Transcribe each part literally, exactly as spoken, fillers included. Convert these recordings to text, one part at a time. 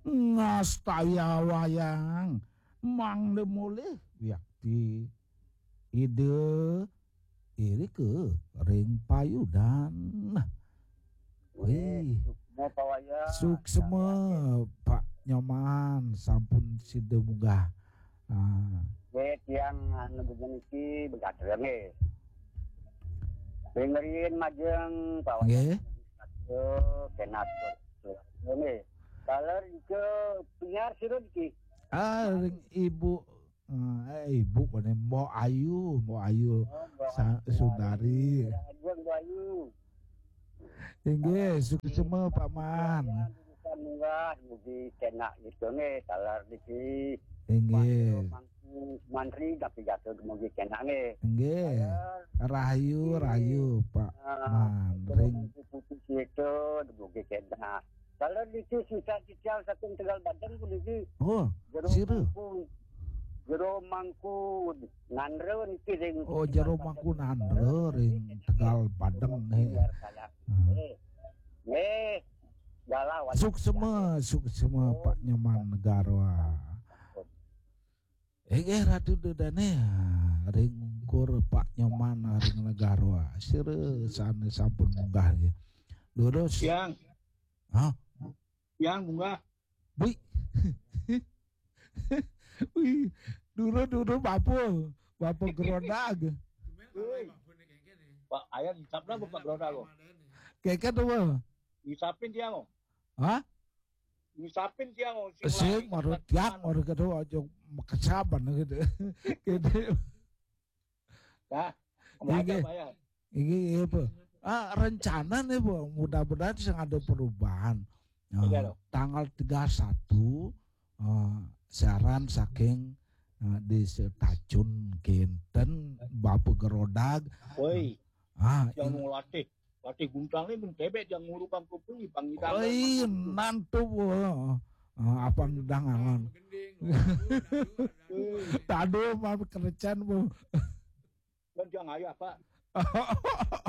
Ngastaya wayang mangda mulih wiakti Ida irika ring payudan. Wih, suksma pawayang. Suksma, Pak Nyoman, sampun sida munggah. Ah. Nggih, tiang anu niki begatra nggih. Ring riin majeng pawayang. Nggih. Aduh, kenak. Nggih. Kalau ke penyiar sira niki. Ah, ring Ibu, eh, Ibu kene, Mbok Ayu, Mbok Ayu. Oh, Mbok Sa-, Ayu. Sundari. Aduh, Mbok Ayu. Inggih, suksma, Pak Man. Urusan munggah, mugi kenak gitu nggih, taler niki. Inggih. Mantri, tapi jatuh mugi kenak nggih. Inggih. Taler. Rahayu, rahayu, Pak Man. Ring. Putih itu, mugi kenak. Taler niki sisa titiang saking Tegal Badeng puniki. Oh, Jero sira. Mangku. Jero Mangku Nandra niki ring Oh, Jero Mangku Nandra ring Tegal Badeng nggih. Biar saya. Hmm. Nggih. Nggih. Galah wali. Suksma, suksma, Pak Nyoman Negara. Inggih, Ratu Dedane, ring ungkur Pak Nyoman ring Negara. Sira sane sampun munggah nggih. Durus. Yang. Hah? Yang munggah. Wih. Wih, dulu-dulu bapa, bapa Gerodag. Pak, ayah dicap dah Bapak Gerodag kok. Keket apa? Ngisapin dia kok. Hah? Ngisapin dia kok. Sing, marut tiang, marut kedua, aja kesaban gitu. Gitu. Nah, inggih. Inggih, iya, Bu. Ah, rencana nih, Bu, mudah-mudahan sing ada perubahan. Nah, iya, loh. Tanggal tiga satu, eh, siaran saking, eh, di Setacun Kinten, Bapak Gerodag. Woi. Ah, yang ing- mau latih, latih guntang nih, mun tebek yang ngurukang kerupuk nih, Bang Idang. Oi, nantu, Bu. Ah, apa ngedang angon. Tadu mah kerecan, Bu. Kan dia ngayah, Pak.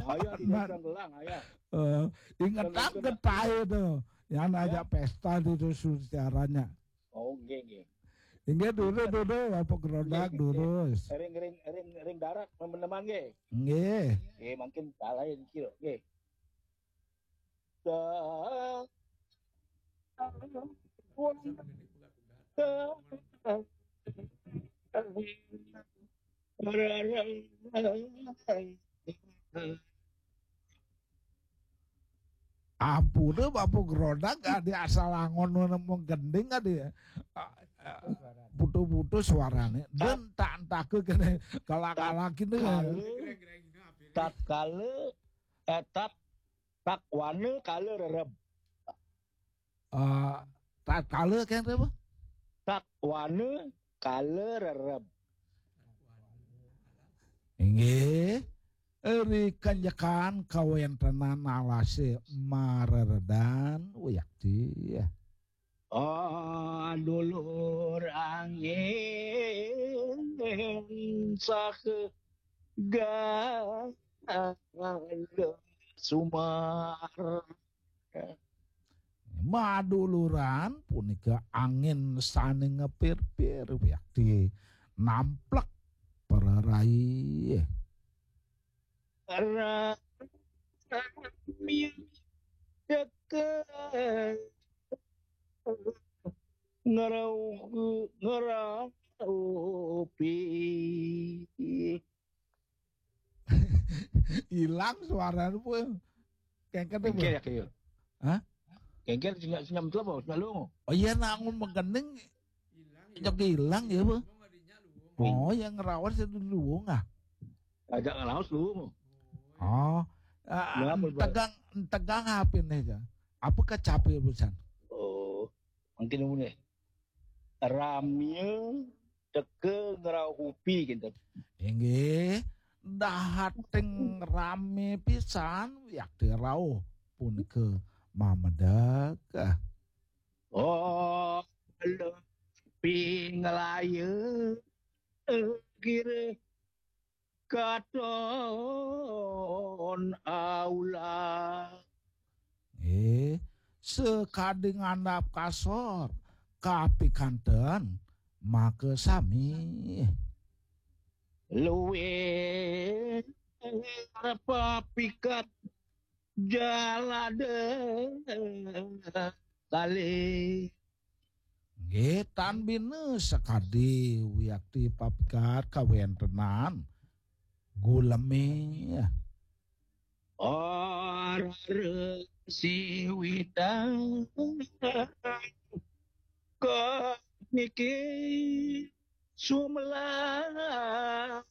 Ngayah di Nan- dalam gelang, ngayah. Eh, ingetan. Kan getahe to. Yang ngajak pesta di dusun siarannya. Oh, nggih, nggih. Inggih, dulu, dulu, apa Gerodag, nggih, nggih, durus. Ring, ring, ring, ring darat, teman-teman, nggih. Nggih. Nggih, mungkin salah ya, dikit, nggih. Ampun, Bapak Gerodak, adi asal angon nemu gending, adi, ah, ah, putus-putus suarane. Dan tak entah ke kene kalah-kalah kene. Tatkala, eh, tat-, takwana kala rereb. Ah, tatkala kene apa? Takwana kala rereb. Inggih, ri kanjekan kawentenan alase mareredan wiakti. Ah, dulur angin saha gala sumar. Maduluran punika angin sane ngepir-pir wiakti namplek pererai. Rami deke ngerau-, ngeraupi. Ilang suarane, Pul. Kengken, Pul. Kengken ya, kaya. Hah? Kengken sing, sing nyamtel apa? Sing lunga. Oh iya, nak ngomong kening. Ilang, ya. Nyok ilang ya, Pul. Ngomong adiknya lu. Oh, yang ngerawas itu lu, ah. Ajak ngerawas lu. Oh. Ah, ya, Pul, Pul. Tegang, tegang apa nih, ya? Apa kecapi pisan? Oh, mungkin ini. Ramya teka ngraupi kinten. Inggih, dahating rame pisan wiakti rauh punika mamedek. Oh, lepi nglaya kira katon aulah. Eh, sakadi ngandap kasor, kapikanten makasami. Luwih papikat jalada kali. Nggih, tan bina sakadi wiakti papikat kawentenan guleme. Ora siwitan kok niki sumelang.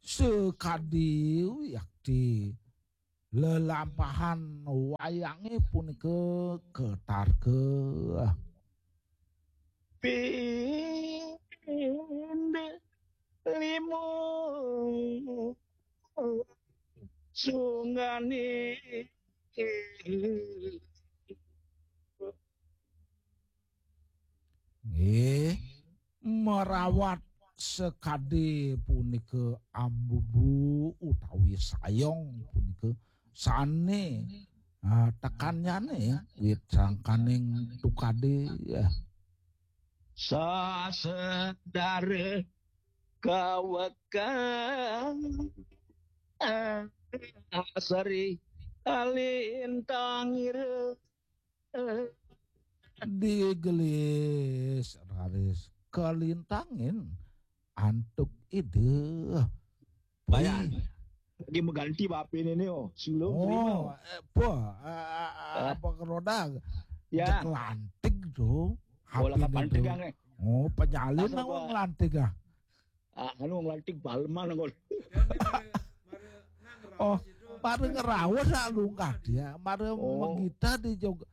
Sakadi wiakti lelampahan wayange punika ketarka. Pind limo sunggane. Nggih, merawat sekadi punika ambubu utawi sayong punika sane, ah, tekannyane wit sangkaning tukade, ya. Sasedare kawekan seri kalintangira. Digelis raris kalintangin antuk Ida. Bayar. Lagi mengganti bape ini, oh. Silo terima. Oh, eh, apa? Eh, eh, eh, apa keroda? Ya. Cek lantik tuh. Oh, lah, kapan tegang, eh? Oh, penyalin. Asal apa gua ngelantik, ah? Ah, anu ngelantik baleman, ngol. Oh, mari ngerawas, ah, lungkah dia. Mari, oh, menggita di jog-,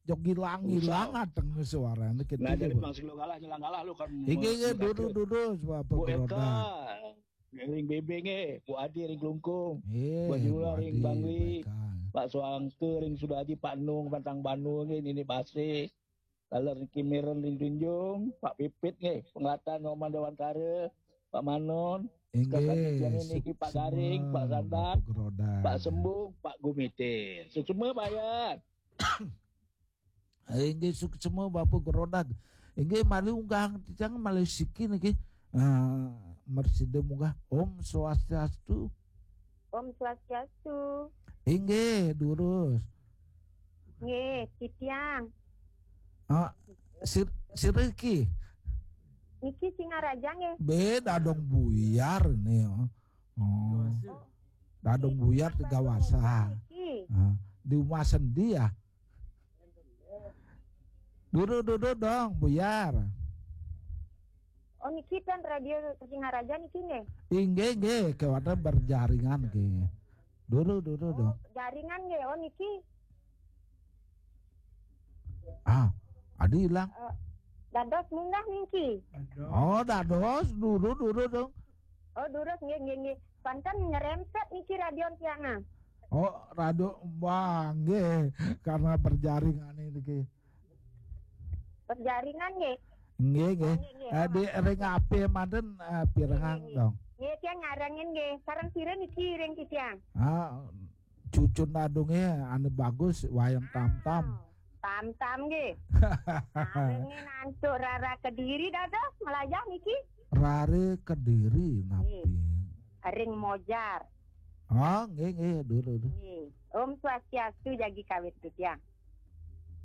jog ilang-ilang ateng suarane gitu. Nah, jadi masih lo kalah, nyelang kalah lo kan. Inggih, inggih, duduk, duduk, sebab Bu Eka, ring Bebe nggih, Bu Adi ring Klungkung, Bu Jula ring Bangli, Pak Suangke ring Sudaji, Pak Nung, Pantang Banu nggih, Nini Base, Taler ring Kimiren ring Tunjung, Pak Pipit nggih, Penglatan Roman Dewantara, Pak Manon, inggih, niki Pak Garing, Pak Sandat, Pak Sembung, Pak Gumite. Suksma, Pak Yan. Inggih, suksma Bapak Gerodag. Inggih, mari unggahang titiang malih siki niki. Ah, mresida munggah. Om Swastiastu. Om Swastiastu. Inggih, durus. Nggih, titiang. Ah, sir-, sira iki? Niki Singaraja nggih. Be, dadong buyar nih, oh. Oh. Dadong buyar Tiga Wasa. Niki. Ah, di rumah sendi ya. Duduk, duduk dong, buyar. Oh, niki kan radio Singaraja niki nggih? Inggih, nggih, kewatan berjaringan nggih. Duduk, duduk dong. Oh, jaringan nggih, oh niki. Ah, adi ilang. Eh, dados munggah niki. Oh, dados, duduk, duduk dong. Oh, durus nggih, nggih, nggih. Panten nyerempet niki radio tiang, ah. Oh, radio, wah, nggih, karena berjaringan niki. Berjaringan nggih. Nggih, nggih. Oh, nggih, nggih. Eh, di ring H P manten, eh, pirengang dong. Nggih, tiang nyarengin nggih. Sareng sira niki ring titiang? Ah, cucun dadunge anu bagus, wayang tamtam. Tamtam nggih. Sarengin antuk rara Kediri dados melajah niki. Rare Kediri napi? Nggih. Ring Mojar. Ah, nggih, nggih, dulu, dulu. Nggih. Om Swastiastu, jagi kawit titiang.